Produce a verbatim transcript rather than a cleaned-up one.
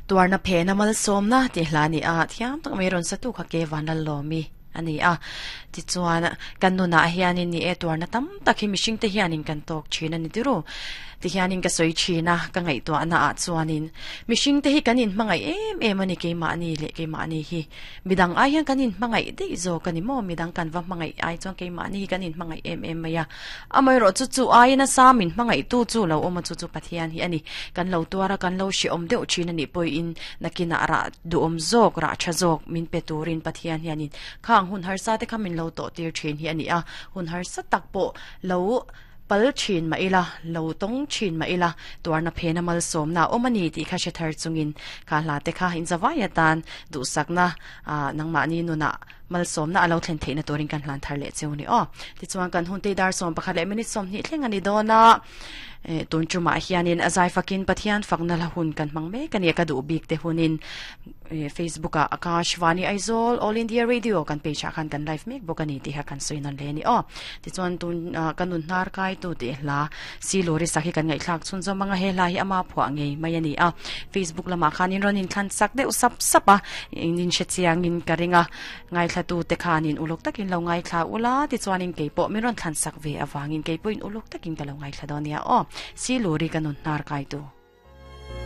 Tuarna phena malsawmna tih hla a ni a, thiam tak mai rawn sa tu kha ke van Lallawmi a ni a. Tichuan kan nunah hianin ni e tuarna tam tak hi mihring te hianin kan tawk thin a ni tiru. Tihianin ka sawi thin a, ka ngaihtuahna ah chuanin mihring te hi kan inhmangaih em em a ni keimahni leh keimahni hi. Midang ai hian kan inhmangaih daih zawk a ni maw? Midang kan va hmangaih ai chuan keimahni hi kan inhmangaih em em mai a. Amaherawh chu chu aiin a sam inhmangaih tu chu lo awm a, chu chu Pathian hi a ni. Kan lo tuar a, kan lo hrehawm deuh thin a nih pawhin nakinah rah duhawm zawk, rah tha zawk min pe turin Pathian hianin khang hun harsa te kha min lo tawh tir thin hi a ni a. Hun harsa tak pawh lo pal thin mah ila, lo tawng thin mah ila, tuarna phena malsawmna a awm a ni tih kha hre thar chungin kha hla te kha inzavai atan duhsakna nangmahni nunah malsawmna a lo thlen theihna turin kan hlan thar leh cheu ni aw. Tichuan kan hun te dar sawm pakhat leh minute sawmhnih thleng a ni dawn a, tun tumah hianin a zai fakin Pathian fakna la hun kan hmang mek a ni a, ka duh bik te hunin Facebook ah Akashvani Aizawl All India Radio kan page ah khan kan live mek bawk a ni tih kha kan sawi nawn hle a ni aw. Tichuan tun ka nun hnar kai tu tih hla si lori sak hi kan ngaihthlak chhun zawm anga he hla hi ama phuah ngei mai a ni a. Facebook lamah khan in rawn inthlan sak deuh sap sap a, in hre chiangin ka ring a, ngaithla tu te khanin uluk takin lo ngaithla ula, tichuanin keipawh min rawn thlan sak ve avangin keipawhin uluk takin ka lo ngaithla dawn nia aw. Si lori ka nun hnar kai tu.